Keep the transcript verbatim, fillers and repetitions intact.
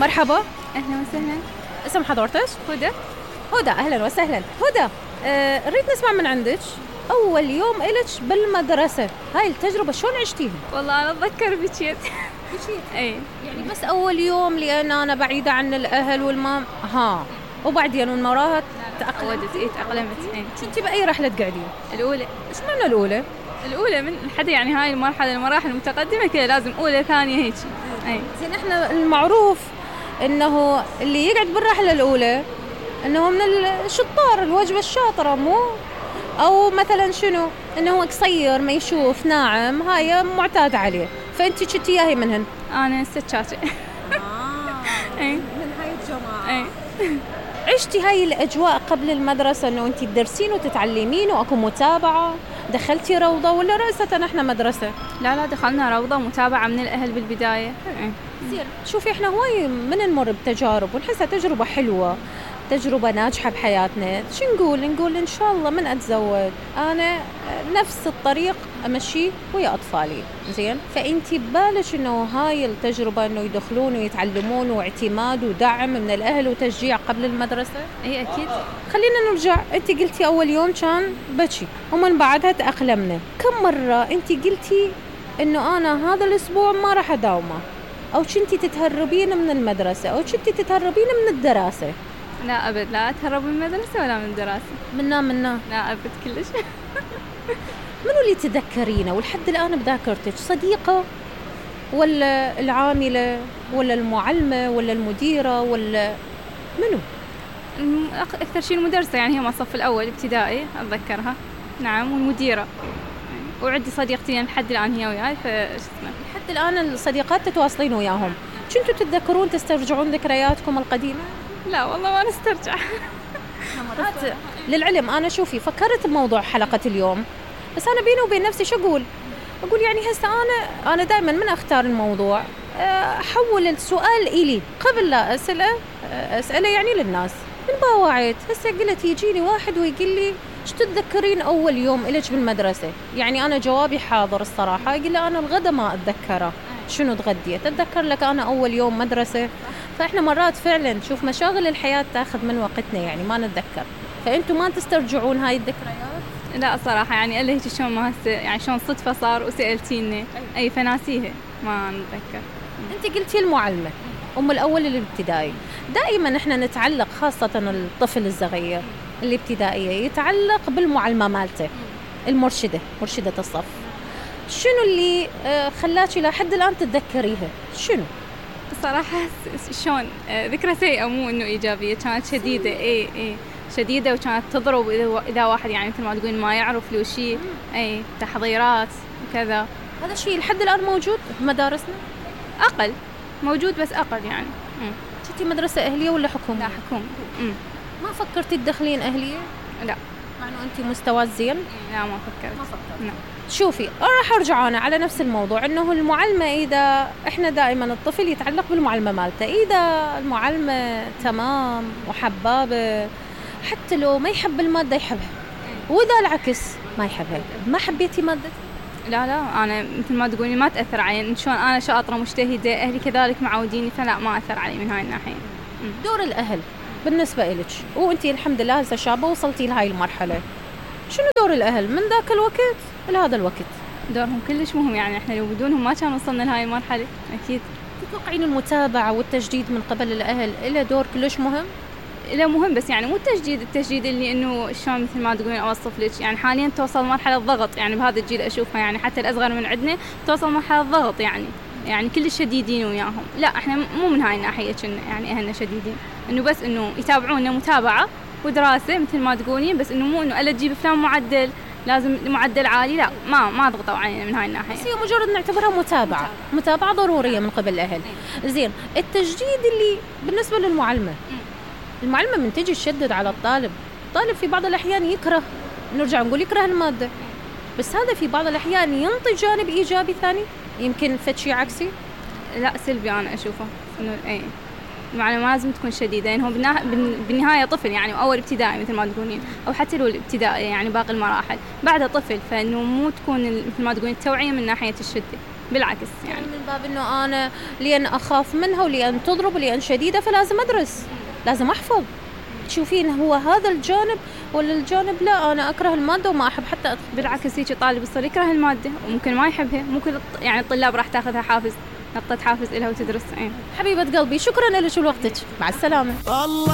مرحبا. أهلا وسهلا. اسم حضرتك؟ هدى. هدى أهلا وسهلا. هدى أه نريد نسمع من عندك أول يوم إلك بالمدرسة، هاي التجربة شلون عشتيها؟ والله أنا أتذكر بكيت بكيت؟ أي يعني بس أول يوم لأن أنا بعيدة عن الأهل والمام ها، وبعدين من وراها تأقلمت. إيه تأقلمت. إيه. كنتي بأي رحلة قاعدين؟ الأولى. إيش معنى الأولى؟ الأولى من حدا يعني هاي المرحلة المراحل المتقدمة كده لازم أولى ثانية هيك. أي. زين إحنا المعروف إنه اللي يقعد بالرحلة الأولى إنه من الشطار الوجبة الشاطرة، مو أو مثلا شنو إنه هو قصير ما يشوف ناعم، هاي معتاد عليه، فأنتي كنتي ياهي منهن؟ أنا ستشاتة. آه. أي. من هاي الجماعة. أي. عشتي هاي الأجواء قبل المدرسة إنه أنتي تدرسين وتتعلمين وأكو متابعة؟ دخلتي روضة ولا رأسة إحنا مدرسة؟ لا لا دخلنا روضة متابعة من الأهل بالبداية. أي. زين شوفي إحنا هواي من نمر بتجارب ونحسها تجربة حلوة، تجربة ناجحة بحياتنا. شو نقول؟ نقول إن شاء الله من أتزوج أنا نفس الطريق أمشي ويا أطفالي. زين فأنتي ببالك إنه هاي التجربة إنه يدخلون ويتعلمون واعتماد ودعم من الأهل وتشجيع قبل المدرسة؟ أي أكيد. خلينا نرجع، أنتي قلتي أول يوم كان بكي ومن بعدها تأقلمنا. كم مرة أنتي قلتي إنه أنا هذا الأسبوع ما راح أداومه، أو كنتي تتهربين من المدرسة أو كنتي تتهربين من الدراسة؟ لا أبد، لا أتهرب من المدرسة ولا من الدراسة. منا منا لا أبد كلش. منو اللي تذكرينه ولحد الآن بذاكرتك؟ صديقة ولا العاملة ولا المعلمة ولا المديرة ولا منو؟ أكثر شيء المدرسة، يعني هي ما الصف الأول ابتدائي أتذكرها. نعم، والمديرة. وعندي صديقتين لحد الآن هي وياي، فايش اسمه لحد الآن الصديقات تتواصلين وياهم. كنتوا تتذكرون تسترجعون ذكرياتكم القديمة؟ لا والله ما نسترجع. مرات للعلم أنا شوفي فكرت بموضوع حلقة اليوم، بس أنا بيني وبين نفسي شو أقول أقول يعني هسه أنا أنا دائما من أختار الموضوع أحول السؤال إلي قبل لا أسأله أسأله يعني للناس. من باوعيت هسه قلت يجيني واحد ويقول لي ايش تتذكرين أول يوم إلك بالمدرسة؟ يعني أنا جوابي حاضر الصراحة، أقول له أنا الغدا ما أتذكره، شنو تغديت؟ أتذكر لك أنا أول يوم مدرسة. فإحنا مرات فعلا شوف مشاغل الحياة تأخذ من وقتنا، يعني ما نتذكر. فأنتوا ما تسترجعون هاي الذكريات؟ لا صراحة يعني إلا هيك شلون ما هسه يعني شلون صدفة صار وسألتيني أي فناسيها ما نتذكر. أنت قلتي المعلمة أم الأول الابتدائي، دائما إحنا نتعلق خاصة الطفل الصغير الابتدائية يتعلق بالمعلمة مالته المرشدة، مرشدة الصف. شنو اللي خلاكي لحد الآن تتذكريها؟ شنو؟ صراحة شلون ذكرى سيئة مو إنه إيجابية، كانت شديدة. إيه إيه شديدة، وكانت تضرب إذا إذا واحد يعني مثل ما تقولين ما يعرف له شيء. أي تحضيرات وكذا. هذا الشيء لحد الآن موجود بمدارسنا؟ أقل موجود بس أقل يعني. كنتي مدرسة أهلية ولا حكومة؟ لا حكومة. ما فكرتي تدخلين أهلية؟ لا. مع إنه أنتي مستوى زين؟ لا ما فكرت. ما فكرت. لا. شوفي راح أرجع أنا على نفس الموضوع، إنه المعلمة إذا إحنا دائما الطفل يتعلق بالمعلمة مالته، إذا المعلمة تمام وحبابة حتى لو ما يحب المادة يحبها، وإذا العكس ما يحبها. ما حبيتي مادة؟ لا لا أنا مثل ما تقولي ما تأثر علي، شلون أنا شاطرة مجتهدة، أهلي كذلك معوديني، فلا ما أثر علي من هاي الناحية. دور الأهل بالنسبة إلك، وأنتي الحمد لله هسه شابة وصلتي لهاي المرحلة، شنو دور الأهل من ذاك الوقت لهذا الوقت؟ دورهم كلش مهم، يعني إحنا لو بدونهم ما كان وصلنا لهاي المرحلة أكيد. تتوقعين المتابعة والتجديد من قبل الأهل إله دور كلش مهم؟ لا مهم، بس يعني مو التجديد التجديد اللي إنه شلون مثل ما تقولين أوصف لك، يعني حاليا توصل مرحلة ضغط، يعني بهذا الجيل أشوفها يعني حتى الأصغر من عندنا توصل مرحلة ضغط، يعني يعني كل شديدين وياهم. لا إحنا مو من هاي الناحية كنا يعني أهلنا شديدين، إنه بس إنه يتابعونا متابعة ودراسة مثل ما تقولين، بس إنه مو إنه ألا تجيب فلان معدل لازم معدل عالي، لا ما ما ضغطوا علينا من هاي الناحية. بس هي مجرد نعتبرها متابعة، متابعة ضرورية من قبل الأهل. زين التجديد اللي بالنسبة للمعلمة، المعلمة من تجي تشدد على الطالب، الطالب في بعض الأحيان يكره، نرجع نقول يكره المادة، بس هذا في بعض الأحيان ينتج جانب إيجابي ثاني، يمكن فد شيء عكسي. لا سلبي أنا أشوفه إنه إيه المعلمة ما لازم تكون شديدة، يعني هو بالنهاية طفل يعني أول ابتدائي مثل ما تقولين، أو حتى لو الابتدائي يعني باقي المراحل بعدها طفل، فإنه مو تكون مثل ما تقولين التوعية من ناحية الشدة. بالعكس يعني, يعني من باب انه انا لان اخاف منها ولان تضرب ولان شديده فلازم ادرس، لازم احفظ. تشوفين هو هذا الجانب ولا الجانب لا انا اكره الماده وما احب حتى أدخل. بالعكس هيك طالب يصير يكره الماده وممكن ما يحبها، ممكن يعني الطلاب راح تاخذها حافز، نقطه حافز لها وتدرس. ايه حبيبه قلبي شكرا لك ولوقتك، مع السلامه. الله